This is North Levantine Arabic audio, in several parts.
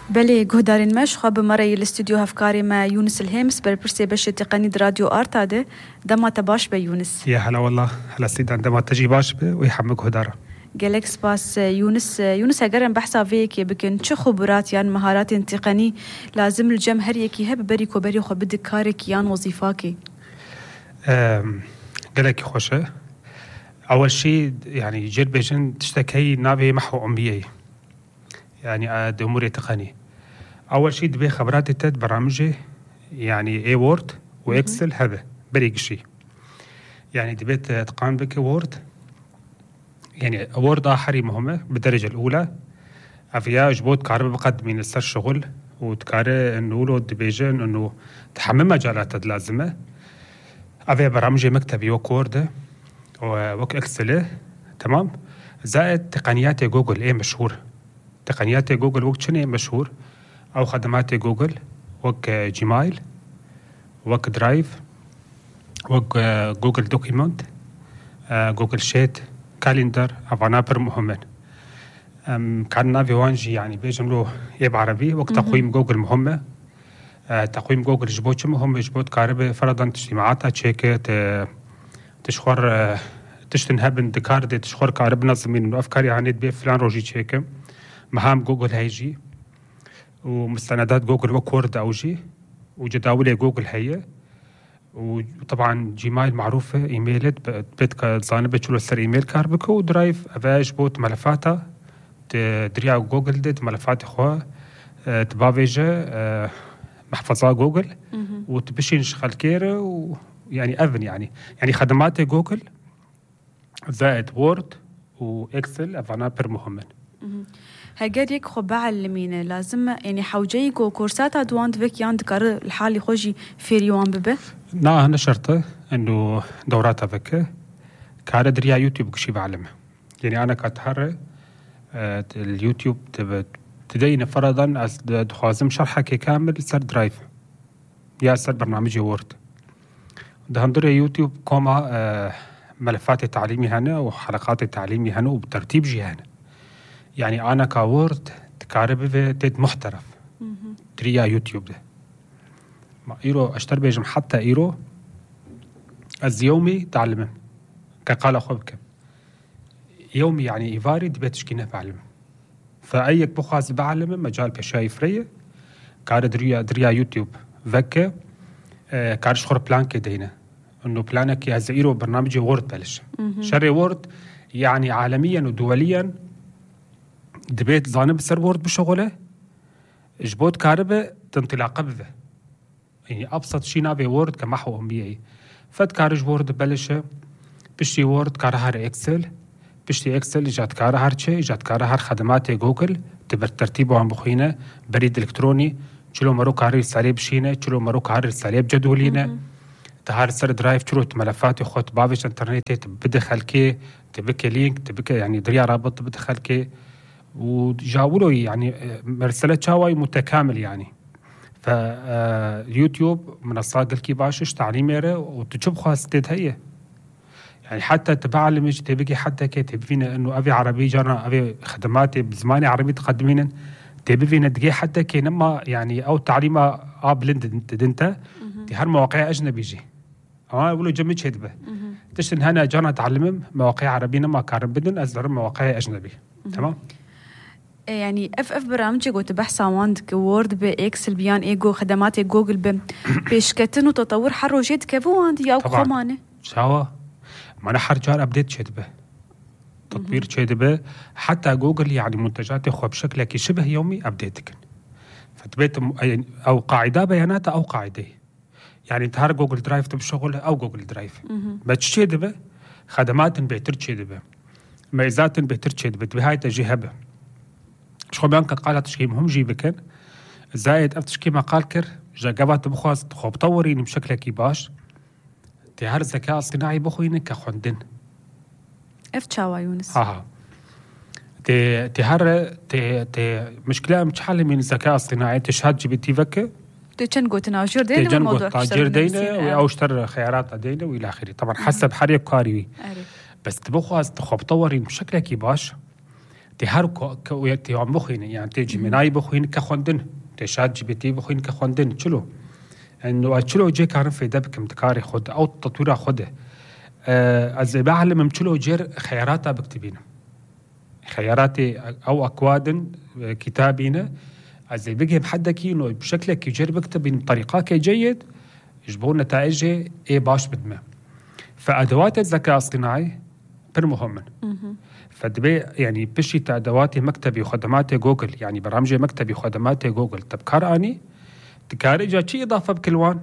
بله گهدارین مش خواب مرای الاستودیو هفکاری ما یونس الهامس برپرسي باش تقني راديو آرتاده دما تباش به يونس. يا هلا والله هلا سيد عندما تجي باش به ويحمق هدارة. قالك سباس يونس هقرن بحثا فيك بكن چه خبرات يعني مهارات تقني لازم الجمهور يكي هب بريكو بريخو بدك كارك يان وظيفاكي. قالك خوشه أول شيء يعني جير بيجن تشتكي نابي محو أمبيي يعني أمور تقني. أول شيء دبي خبرات تد برامجي يعني اي وورد واكسل هذا بريق شيء يعني دبيت تقان بك وورد يعني وورد آخري مهمة بالدرجة الأولى أفيا جبوت كارب بقدمين السر شغل وتكاره إنه لو دبيجن إنه تحمل مجالات لازمة أفيا برامجي مكتبي وكورد وك اكسل تمام زائد تقنيات جوجل ايه مشهور تقنيات جوجل وك شنو مشهور أو خدمات جوجل وك جيميل وك درايف وك جوجل دوكيمنت جوجل شيت كالندر أفانابر مهمين كان في وانجي يعني بيجملو يب عربي وك تقويم جوجل مهمة تقويم جوجل جبوت مهم جبوت كاربة فرضا اجتماعاتها تشيكت تشخور تشتنهبن دكارد تشخور كارب نظمين إنه أفكاري يعني تبي فلان روجي تشيكم مهام جوجل هيجي ومستندات جوجل وكورد أوجي وجداول جوجل هي وطبعا جيميل معروفة إيميلت بيتك زانبة شلو سر إيميل كاربكو ودرايف أفاج بوت ملفاتها تدريا جوجل ديت ملفات إخوة تبافيجة محفظة جوجل وتبشين شغل كيرة ويعني أفن يعني خدمات جوجل زائد وورد وإكسل أفانابر مهمة. هاجريك خب علمينا لازم يعني حوجيك كورسات أدوان تبك يان تكرر الحالي خوجي فيريوان ببه؟ نا هنا شرطة إنه دورات أفكه كارد دريا يوتيوب كشي بعلمه يعني أنا كاتحرى اليوتيوب تدين فرضا دخوازم شرحك كامل سر درايف يا سر برنامجي وورد ده هندري يوتيوب كوما ملفات التعليمي هنا وحلقات التعليمي هنا وبترتيب جي هنا يعني أنا كوورد تكارب تد محترف تريا يوتيوب ده ما إيرو أشتر بيجم حتى إيرو اليومي تعلمه كقال أخوك يومي يعني إيفاري دبيتش كينه بعلمه فأيك بخاز بعلمه مجال بشاي فريه كار دريا يوتيوب فكه كارش خور بلان كدينه إنه بلانك يا زئيرو برنامجي وورد بلش شري وورد يعني عالميا ودوليا دبيت زانب سر وورد بشغله جبوت كاربه تنطلاقه بذه يعني أبسط شيء نابي وورد كمحو أمبيعي فد كارج وورد بلشه بشتي وورد كارهار إكسل بشتي إكسل إجاد كارهار شيء إجاد كارهار خدمات جوجل تبر ترتيبه عن بخينه بريد إلكتروني شلو مرو كاري ساليب شينه شلو مرو كاري ساليب جدولينه تهار سر درايف شلو ملفات خط بافش إنترنت تبدخل كي تبكي لينك تبكي يعني دريا رابط تبدخل كي وجاولوا يعني مرسلة شاوي متكامل يعني فيوتيوب منصات الكي باشش تعليميره وتشوف خاصتها هي يعني حتى تبعلمش تبقي حتى كي تبينا انه ابي عربي جرنا ابي خدمات بزماني عربي تقدمين تبينا دقي حتى كي نما يعني او تعليمه بلند دنتا دي هر مواقع اجنبي جي اقولوا جمج هدبه تشن هنا جرنا تعلمم مواقع عربي نما كارب بدن ازر مواقع اجنبي تمام يعني اف برامجك وتبحث عندك وورد باكسل بيان ايجو خدمات جوجل بيشكتن وتطور حروجيت كيفو عندي او خمانه شاوا ما انا حرجار ابديت شدبه تطوير شدبه حتى جوجل يعني منتجات اخو بشكل شبه يومي ابديتك فتبيت او قاعده بيانات او قاعده يعني تهار جوجل درايف تبشغل او جوجل درايف بتشدبه خدمات بيتر شدبه ميزات بيتر شدبه بهاي تجي هبه شو بيانك قالت تشكي مهم جي بكن زائد افتشكي ما قال كر جاقبات بخواز تخوب طوريني بشكل كيباش تهار الذكاء الصناعي بخوينك كخندن افتشاوا يونس تهار مشكلة مش حل من الذكاء الصناعي تشهد جي بي تي فكه تجنقو تناجر دينا والموضوع تاجر دينا أو اشتر خيارات دينا وإلى آخره طبعا حسب حريق كاريوي بس تبخواز تخوب طورين بشكل كيباش تهاركو يتي عم بخين يعني تيجي مناي بخين كخوندن تشات جي بي تي بخين كخوندن شلو انه شلو جي كان في دبك متكاري خد او تطوير خده از بعلم مشلو جير خياراتها بكتبين خياراتي او اكواد كتابين از بيجي بحدكي انه بشكلك يجير بكتبين بطريقه جيد يجبون نتائجه ايه باش بدمه فادوات الذكاء الاصطناعي بر مهمن فدبي يعني بشي ادواتي مكتبي وخدماتي جوجل يعني برامجي مكتبي وخدماتي جوجل تبكار اني تكاري جا شي اضافه بكلوان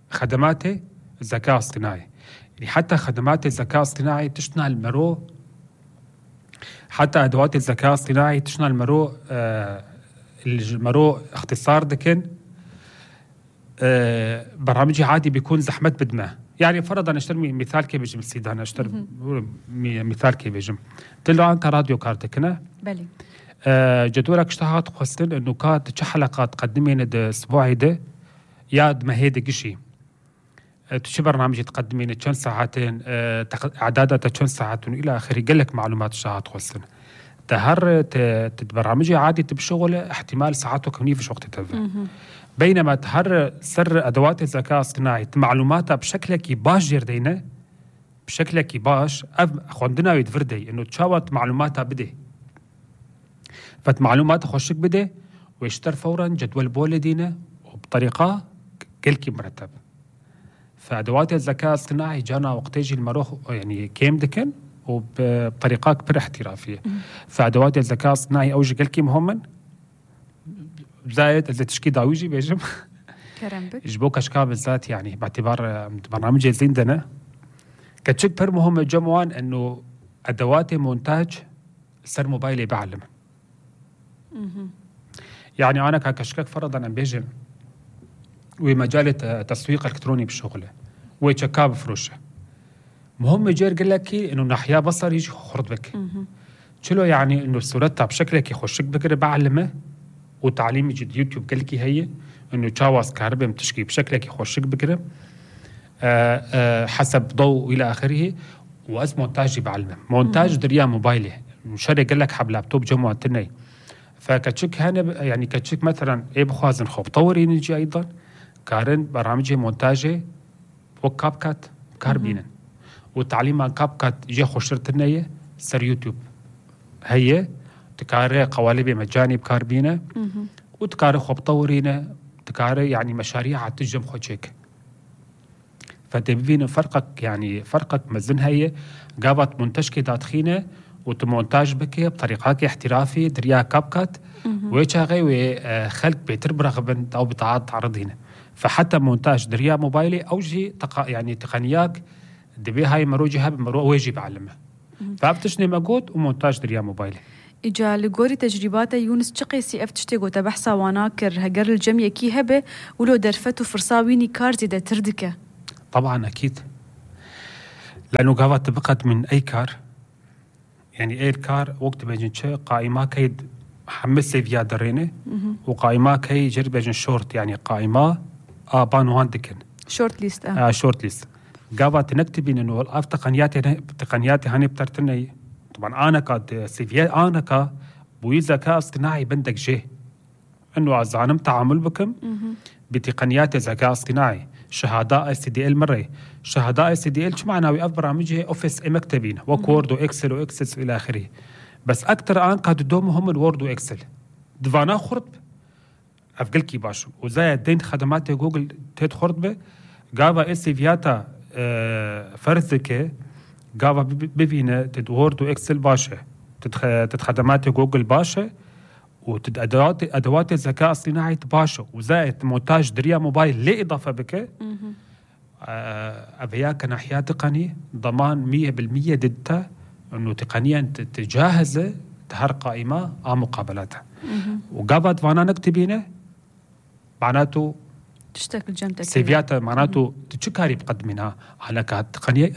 خدماتي الذكاء الاصطناعي يعني حتى خدمات الذكاء الاصطناعي تشتغل المرو حتى ادوات الذكاء الاصطناعي تشتغل المرو المرو اختصار دكن برامجي عادي بيكون زحمت بدمه يعني فرضا اشتر مثال كيف بيجي بالسيدان اشتر مثال كيف بيجي تلو انت راديو كارتكنا بلي جدولك اشتهات خصتن انه كانت تش حلقات تقدمين ده اسبوعي ده ياد ما هيدا قشي تشي برنامج تقدمين كم ساعتين اعدادها كم ساعتين الى اخره قال لك معلومات اشتهات خصتن تهر تبرامجي عادي تبشغل احتمال ساعاته كمني في وقت تبع بينما تهر سر ادوات الذكاء الاصطناعي معلوماتها بشكلك باش جردينا بشكلك باش خوندنا يدفردي انه تشاوت معلوماتها بدي فت معلومات خوشك بدي ويشتر فورا جدول بولدينا وبطريقه كلكي مرتب فادوات الذكاء الاصطناعي جانا وقت يجي المروخ يعني كيم دكن وبطريقه كبير احترافيه فادوات الذكاء الاصطناعي اوجي كلكي مهمن زائد اذا تشكي داويجي بيجم كرمبك يجبوك اشكال بالذات يعني باعتبار برنامج زيندنا كتشك بر مهم جموان انه ادوات مونتاج سر موبايلي بعلم يعني انا كشكك فرضا عم بيجم ومجال التسويق الالكتروني بالشغله ويتشكاب فروشه مهم يجي يقول لك انه ناحيه بصر يجي خرط بك شلو يعني انه صورتها بشكلك يخشك بكره بعلمه وتعليم يجي يوتيوب قال لك هي انه تشاوز كهرباء متشكي بشكلك يخشك بكره حسب ضوء الى اخره واز مونتاج بعلمه مونتاج دريا موبايلي مشاري قال لك حب لابتوب جمعه تني فكتشك هنا يعني كتشك مثلا ايه بخوازن خوب طوري نجي ايضا كارن برامجي مونتاجي وكاب كات كاربينا والتعليم عن كاب كات جي خشرتنيه سر يوتيوب هي تكاري قوالب مجاني بكاربينا وتكاري خوب طورينا تكاري يعني مشاريع تجم خوشيك فتبين فرقك يعني فرقك مزن هي قابت منتجك داتخينه وتمونتاج بك بطريقة احترافي دريا كابكات ويشاغي وخلق بيتر برغبن او بطاعات تعرضينه فحتى مونتاج دريا موبايلي او جي يعني تقنيات دبي هاي مروجي هاب مرو ويجي بعلمه فابتشني مجهود ومونتاج دريا موبايلي إجا لغوري تجربات يونس شقي سي اف تشتغو تبحثا واناكر هجر الجميع كي هبه ولو درفتو فرصاويني كار زيدا تردكه طبعا اكيد لانه قاوات تبقت من اي كار يعني اي كار وقت بيجن شيء قائمه كيد حمس سيفيا درينه وقائمه كي جرب بيجن شورت يعني قائمه بان واندكن شورت ليست شورت ليست قاوات نكتبين انه الاف تقنياتي هاني بترتني طبعا انا كاد سيفيا انا كا بوي ذكاء اصطناعي بندك جه انه ازانم تعامل بكم بتقنيات الذكاء الاصطناعي شهادة SDL مرة شهادة SDL شو معناه ويقف برامجه أوفيس مكتبين وكورد وإكسل وإكسس إلى آخره بس أكتر آن قد دومهم الوورد وإكسل دفانا خرط أفقل كي باشو وزايد دين خدمات جوجل تيد خرط به قابا إسيفياتا فرزك قابا ببينة تد وورد وإكسل باشا تد خدمات جوجل باشا وتد أدوات الذكاء الصناعي باشا وزائد مونتاج دريا موبايل ليه إضافة بك أبيا كناحية تقنية ضمان 100% ضدها إنه تقنيا تجهز تهر قائمة مقابلاتها وقابت فانا نكتبينه معناته تشتكل جمتك سيفيات معناته تشكاري بقدمنا على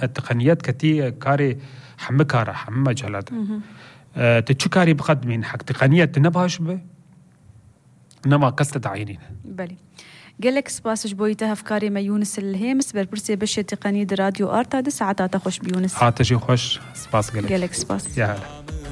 التقنيات كتير كاري حمكارة حم جلد تشكاري بقدمين حق تقنية نباش به نما قصة عينين بلي قالك سباس جبويتها أفكاري ما يونس الهيمس بربرسي بشي تقنية راديو آرتا دي ساعتها تخش بيونس تجي خوش سباس قالك سباس يا هلا